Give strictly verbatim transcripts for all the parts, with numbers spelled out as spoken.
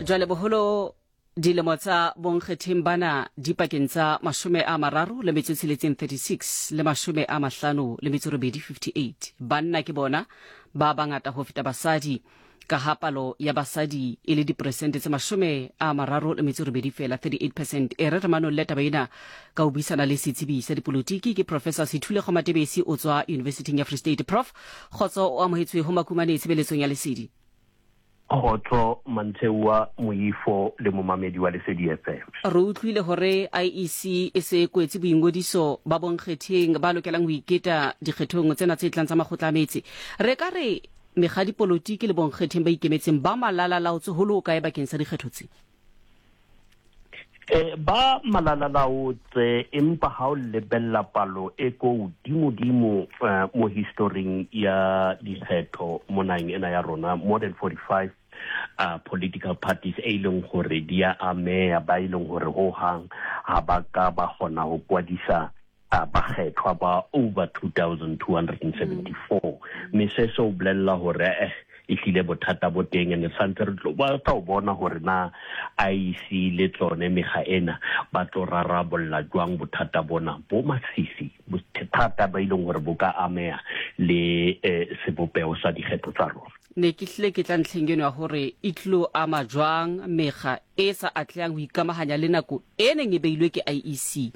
Jwale boholo dilemo tsa bonkgetheng bana di pakeng tsa mashome a mararo le metso e tsheletseng, thirty-six, le mashome a mahlano le metso robedi, fifty-eight. Banna ke bona ba bangata ho feta basadi, ka ha palo ya basadi e le diperesente tse mashome a mararo le metso robedi fela, thirty-eight percent. E re re manolle taba ena ka ho buisana le setsebi sa dipolotiki, ke Professor Sethulego Matebesi, o tswa Universityng ya Free State. Prof, kgotso, o amohetswe ho Makumane tshebeletsong ya Lesedi. Kgotso, Mantheua Moifo le momamedi wa Lesedi F M. Re utlwile hore I E C e se kwetse boingodiso ba bonkgetheng ba lokelang ho iketa dikgethong tsena tse tlang tsa makgotla a metse. Re ka re mekga dipolotiki le bonkgetheng ba ikemetseng ba malalalaotse ho le ho kae bakeng sa dikgetho tse? Eh ba malalalaotse, empa ha o lebella palo e ko hodimo-dimo eh, mo historing ya dikgetho mo naheng ena ya rona, more than forty-five uh, political parties e leng hore di a ameha, ba e leng hore ho hang ha ba ka ba kgona ho kwadisa uh, bakgethwa ba over two thousand two hundred seventy-four, mme se se o bolella hore eh ehlile bothata bo teng, and santse re tlo ba tla o bona hore na I E C le tsone mekga ena ba tlo rarabolla jwang bothata bona bo masisi, bothata ba ileng hore bo ka ameha le eh, sebopeho sa dikgetho tsa rona. Ne ke hlile ke tla ntlheng eno ya hore e tlilo ama jwang mekga e sa atlehang ho ikamahanya le nako e neng e beilwe ke I E C.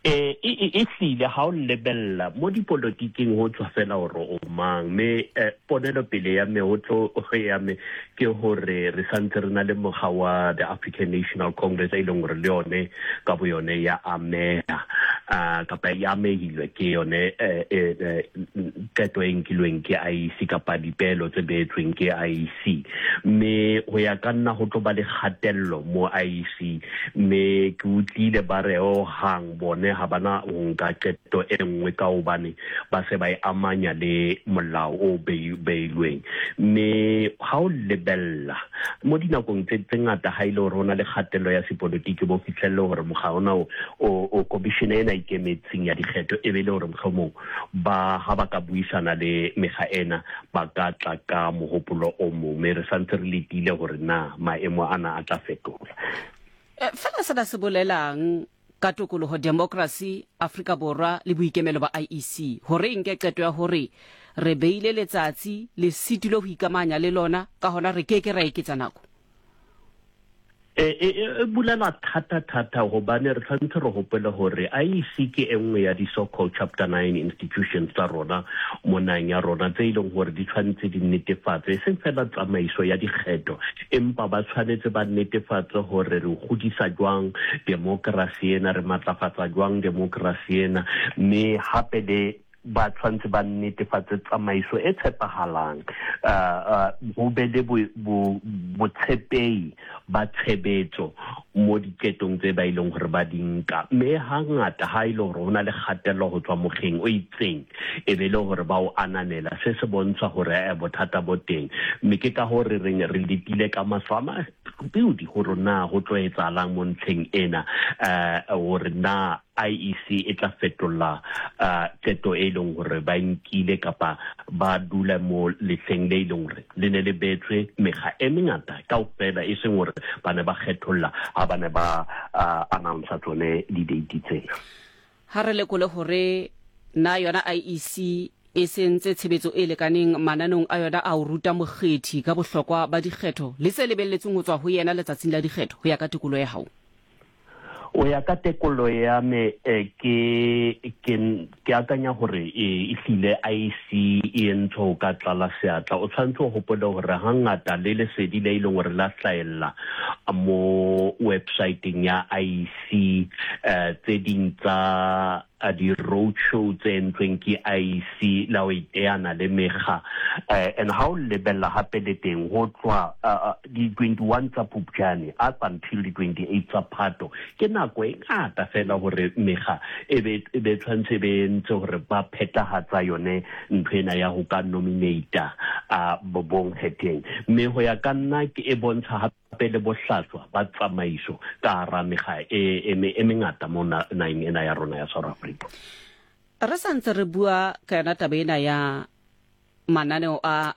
eh e e e hlile ha o lebella mo dipolotiking ho tswa fela hore o mang, mme eh, ponelo pele ya me ho tlo ya me ke hore re santse re na le mokga wa the African National Congress e leng hore le yone ka bo yone ya ameha uh, kapa e amehilwe ke yone eh, eh, eh, qeto e nkilweng ke I E C kapa dipelo tse beetsweng ke I E C. Mme ho ya ka nna ho tlo ba le kgatello mo I E C, mme ke utlwile ba re ho hang bone ha bana ho nka qeto e nngwe ka hobane ba se ba e amanya le molao o bei- beilweng. Mme ha o lebella mo dinakong tse tse ngata, ha ile hore ho na le kgatello ya sepolotiki, bo fihlelle hore mokga ona o o o commission ena ikemetseng ya dikgetho e be le hore mohlomong ba ha ba ka buisana le mekga ena ba ka tla ka mohopolo o mong, mme re santse re letile hore na maemo ana a tla fetola. Eh, fela sena se bolelang ka tokoloho, democracy Afrika Borwa le boikemelo ba I E C, hore e nke qeto ya hore re beile letsatsi le sitilwe ho ikamahanya le lona, ka hona re ke ke ra eketsa nako? E e e bulela thata thata, hobane re tshwanetse re hopole hore I E C ke e nngwe ya di so called chapter nine institutions tsa rona mo naheng ya rona, tse e leng hore di tshwanetse di netefatse e seng fela tsamaiso ya dikgetho, empa ba tshwanetse ba netefatse hore re godisa jwang democracy ena, re matlafatsa jwang democracy ena, mme hape le ba tshwanetse ba netefatse tsamaiso e tshepahalang, uh, uh, ho be le botshepehi ba tshebetso mo diqetong tse ba ileng hore ba di nka. Mme hangata ha ile hore ho na le kgatello ho tswa mokgeng o itseng, e be le hore ba o ananela, se se bontsha hore eh, bothata bo teng. Mme ke ka hore re re letile ka mahlo a mapudi hore na ho tlo etsahalang mo ntlheng ena, eh hore na I E C e tla fetola uh, qeto e leng hore ba nkile kapa ba dula mo lehleng le e leng hore le ne le beetswe mekga e mengata kaofela, e seng hore ba ne ba kgetholla ha ba ne ba uh, announce tsone di-date tsena. Ha re lekole hore na yona I E C e sentse tshebetso e lekaneng mananong a yona a ho ruta mokgethi ka bohlokwa ba dikgetho le se lebelletsweng ho tswa ho yena letsatsing la dikgetho, ho ya ka tekolo ya hao. O ya ka tekolo ya me, eh, ke ke ke akanya hore e hlile I E C e entse ho ka tlala seatla. O tshwanetse o hopole hore hangata le lesedi le e leng hore la hlahella mo websiteng ya I E C, eh tse ding tsa di-road show tse entsweng ke I E C la ho iteana le mekga, eh, and ha o lebella hape le teng ho tloha di-twenty-one tsa Phupjane up until di-twenty-eight tsa Phato, ke nako e ngata fela hore mekga e be e be tshwanetse e be entse hore ba phethahatsa yone ntho ena ya ho ka nominata uh, bonkgetheng. Mme ho ya ka nna ke e bontsha hape le bohlaswa ba tsamaiso ka hara mekga e, e, e mengata mo naheng ena ya rona ya South Africa. Re sa ntse re bua ka yona taba ena ya mananeo a